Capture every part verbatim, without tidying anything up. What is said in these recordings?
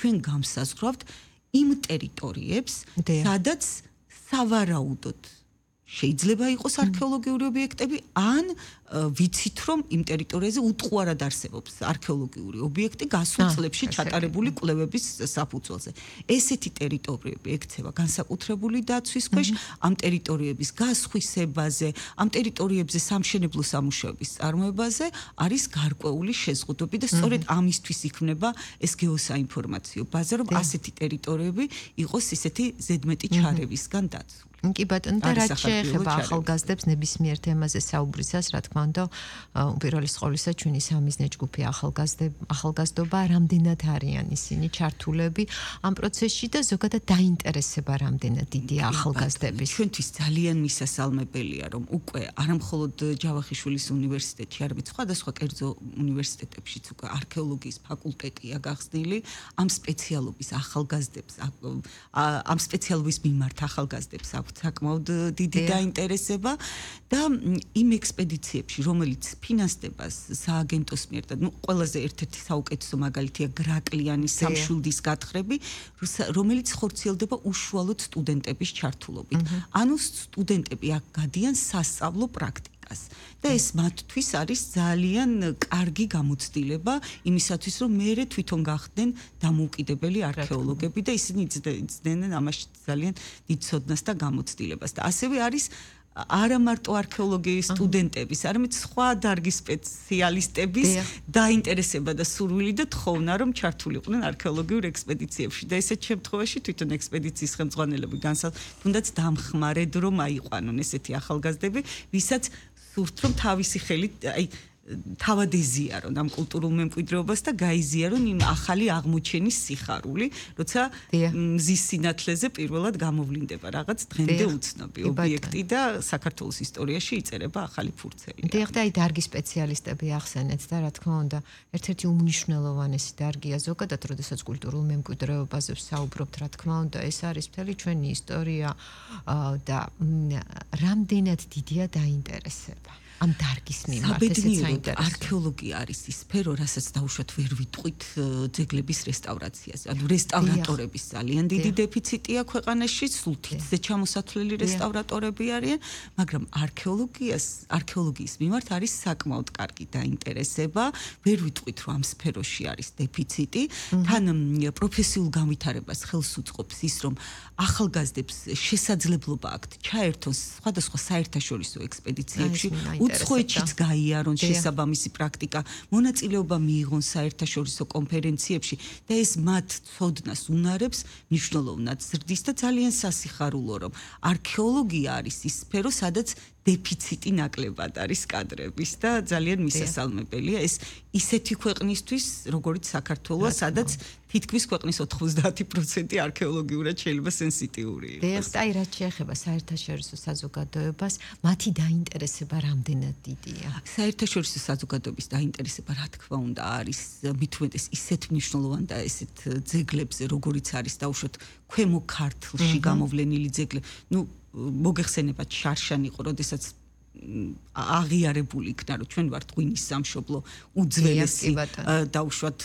ჩვენ გამსაზღვრავთ იმ ტერიტორიებს, სადაც სავარაუდოდ შეიძლება იყოს არქეოლოგიური ობიექტები, ან ვიცით, რომ იმ ტერიტორიაზე უტყუარად არსებობს არქეოლოგიური ობიექტი გასულ წლებში ჩატარებული კვლევების საფუძველზე. ესეთი ტერიტორიები ექცევა განსაკუთრებული დაცვის ქვეშ, ამ ტერიტორიების გასხვისებაზე, ამ ტერიტორიებზე სამშენებლო სამუშაოების წარმოებაზე არის გარკვეული შეზღუდვები და სწორედ ამისთვის იქმნება ეს გეოსაინფორმაციო ბაზა, რომ ასეთი ტერიტორიები იყოს ისეთი ზედმეტი ჩარევისგან დაცული. კი ბატონო, და რაც შეეხება ახალგაზრდებს ნებისმიერ თემაზე საუბრისას, რა თქმა უნდა, უპირველეს ყოვლისა ჩვენი სამიზნე ჯგუფი ახალგაზრდობა, რამდენად არიან ისინი ჩართულები ამ პროცესში და ზოგადად დაინტერესება რამდენად დიდია ახალგაზრდების. ჩვენთვის ძალიან მისასალმებელია, რომ უკვე არამხოლოდ ჯავახიშვილის უნივერსიტეტში, არამედ სხვადასხვა კერძო უნივერსიტეტებშიც უკვე არქეოლოგიის ფაკულტეტია გახსნილი, ამ სპეციალობის ახალგაზრდებს, ამ სპეციალობის მიმართ ახალგაზრდებს აქვს საკმაოდ დიდი დაინტერესება და იმ ექსპედიციებში, რომელიც ფინანსდება სააგენტოს მიერ და ნუ ყველაზე ერთ-ერთი საუკეთესო მაგალითია გრაკლიანის სამშვილდის გათხრები, რომელიც ხორციელდება უშუალოდ სტუდენტების ჩართულობით. ანუ სტუდენტები აქ გადიან სასწავლო პრაქტიკას. და ეს მათთვის არის ძალიან კარგი გამოცდილება იმისათვის, რომ მეერე თვითონ გახდნენ დამოუკიდებელი არქეოლოგები და ისინი იცნდნენ ამაში ძალიან დიდ ცოდნას და გამოცდილებას. და ასევე არის არა მარტო არქეოლოგიის სტუდენტების, არამედ სხვა დარგის სპეციალისტების დაინტერესება და სურვილი და თხოვნა, რომ ჩართულიყვნენ არქეოლოგიურ ექსპედიციებში. და ესეთ შემთხვევაში თვითონ ექსპედიციის ხელმძღვანელები განსაზღვრა, თუნდაც დამხმარედ რომ აიყვანონ ესეთი ახალგაზრდები, ვისაც სურთ, რომ თავისი ხელით, აი თავად ეზიარონ ამ კულტურულ მემკვიდრეობას და გაიზიარონ იმ ახალი აღმოჩენის სიხარული, როცა მზის სინათლეზე პირველად გამოვლინდება რაღაც დღემდე უცნობი ობიექტი და საქართველოს ისტორიაში იწერება ახალი ფურცელი. დიახ, და აი დარგის სპეციალისტები ახსენეთ და რა თქმა უნდა, ერთ-ერთი უმნიშვნელოვანესი დარგია ზოგადად, როდესაც კულტურულ მემკვიდრეობაზე ვსაუბრობთ, რა თქმა უნდა, ეს არის მთელი ჩვენი ისტორია და რამდენად დიდია დაინტერესება. ამ დარგის მიმართ ესეც საინტერესოა. არქეოლოგია არის ის სფერო, რასაც დაუშვათ ვერ ვიტყვით ძეგლების რესტავრაციაზე. ანუ რესტავრატორების ძალიან დიდი დეფიციტია ქვეყანაში, სულ თითზე ჩამოსათვლელი რესტავრატორები არიან, მაგრამ არქეოლოგიას, არქეოლოგიის მიმართ არის საკმაოდ კარგი დაინტერესება. ვერ ვიტყვით, რომ ამ სფეროში არის დეფიციტი. თან პროფესიულ განვითარებას ხელს უწყობს ის, რომ ახალგაზრდებს შესაძლებლობა აქვთ ჩაერთონ სხვადასხვა საერთაშორისო ექსპედიციებში, უცხოეთშიც გაიარონ შესაბამისი პრაქტიკა, მონაწილეობა მიიღონ საერთაშორისო კონფერენციებში და ეს მათ ცოდნას უნარებს მნიშვნელოვნად ზრდის და ძალიან სასიხარულო, რომ არქეოლოგია არის ის სფერო, სადაც დეფიციტი ნაკლებად არის კადრების და ძალიან მისასალმებელია ეს ისეთი ქვეყნისთვის, როგორც საქართველოა, სადაც თითქმის ქვეყნის ოთხმოცდაათი პროცენტი არქეოლოგიურად შეიძლება სენსიტიური იყოს. დიახ, აი რაც შეეხება საერთაშორისო საზოგადოებას, მათი დაინტერესება რამდენად დიდია? საერთაშორისო საზოგადოების დაინტერესება, რა თქმა უნდა, არის მით უმეტეს ისეთ მნიშვნელოვან და ესეთ ძეგლებზე, როგორიც არის დაუშვათ ქვემო ქართლში გამოვლენილი ძეგლები. ნუ მოგეხსენებათ შარშანი იყო, როდესაც აღიარებული იქნა, რომ ჩვენ ვართ ღვინის სამშობლო, უძველესი დაუშვათ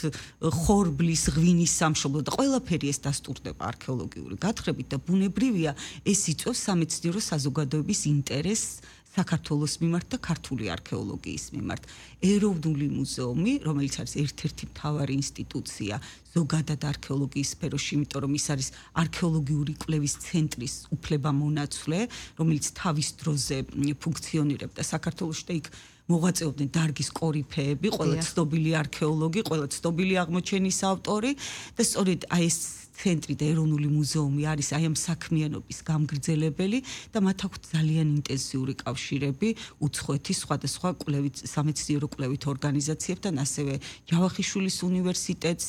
ხორბლის ღვინის სამშობლო და ყველაფერი ეს დასტურდება არქეოლოგიური გათხრებით და ბუნებრივია ეს იწვევს სამეცნიერო საზოგადოების ინტერესს საქართველოს მიმართ და ქართული არქეოლოგიის მიმართ. ეროვნული მუზეუმი, რომელიც არის ერთ-ერთი მთავარი ინსტიტუცია ზოგადად არქეოლოგიის სფეროში, იმიტომ რომ ის არის არქეოლოგიური კვლევის ცენტრის უფლებამონაცვლე, რომელიც თავის დროზე ფუნქციონირებდა საქართველოში და იქ მოღვაწეობდნენ დარგის კორიფეები, ყველა ცნობილი არქეოლოგი, ყველა ცნობილი აღმოჩენის ავტორი და სწორედ აი ეს ცენტრი და ეროვნული მუზეუმი არის აი ამ საქმიანობის გამგრძელებელი და მათ აქვთ ძალიან ინტენსიური კავშირები უცხოეთის სხვადასხვა კვლევით სამეცნიერო კვლევით ორგანიზაციებთან, ასევე ჯავახიშვილის უნივერსიტეტს,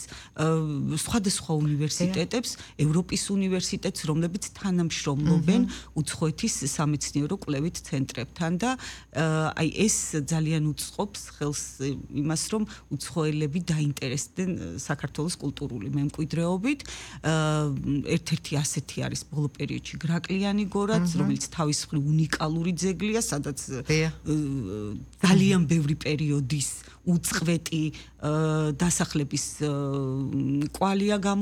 სხვადასხვა უნივერსიტეტებს, ევროპის უნივერსიტეტს, რომლებიც თანამშრომლობენ უცხოეთის სამეცნიერო კვლევით ცენტრებთან და აი ეს ძალიან უწყობს ხელს იმას, რომ უცხოელები დაინტერესდნენ საქართველოს კულტურული მემკვიდრეობით. ერთ-ერთი ასეთი არის ბოლო პერიოდში გრაკლიანი გორაც, რომელიც თავის მხრივ უნიკალური ძეგლია, სადაც ძალიან ბევრი პერიოდის უწყვეტი დასახლების კვალია გამო